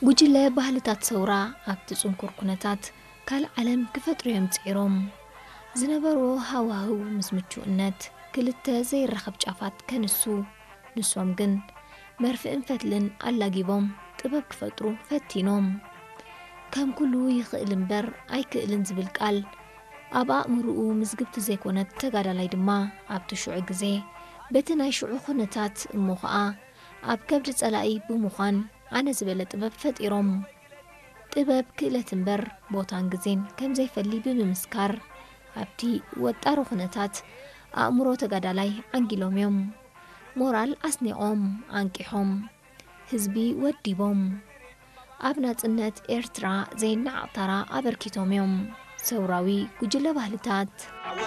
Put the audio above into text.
ጉጅለ ባህልታት ሰውራ ኣብቲ ጽንኩር ኩነታት ካልእ ዓለም ክፈጥሩ እዮም ጽዒሮም። ዝነበርዎ ሃዋህው ምስ ምቹእነት ክልተ ዘይራኸብ ጫፋት ከንሱ፣ ንሶም ግን መርፍእን ፈትልን ኣላጊቦም ጥበብ ክፈጥሩ ፈቲኖም። ከም ኩሉ ይኽእል እምበር ኣይክእልን ዝብል ቃል ኣብ ኣእምርኡ ምዝግብቲ ዘይኮነት ተጋዳላይ ድማ ኣብቲ ሽዑ ግዜ በቲ ናይ ሽዑ ኩነታት እሞ ኸኣ ኣብ ከብዲ ጸላኢ ብምዃን ኣነ ዝበለ ጥበብ ፈጢሮም። ጥበብ ክእለት እምበር ቦታን ግዜን ከም ዘይፈሊ ብምምስካር ኣብቲ ወጣሪ ኩነታት ኣእምሮ ተጋዳላይ ዓንጊሎም እዮም። ሞራል ኣስኒቖም፣ ኣንቂሖም፣ ህዝቢ ወዲቦም። ኣብ ናጽነት ኤርትራ ዘይነዓቕ ታራ ኣበርኪቶም እዮም። ሰውራዊ ጉጅለ ባህልታት።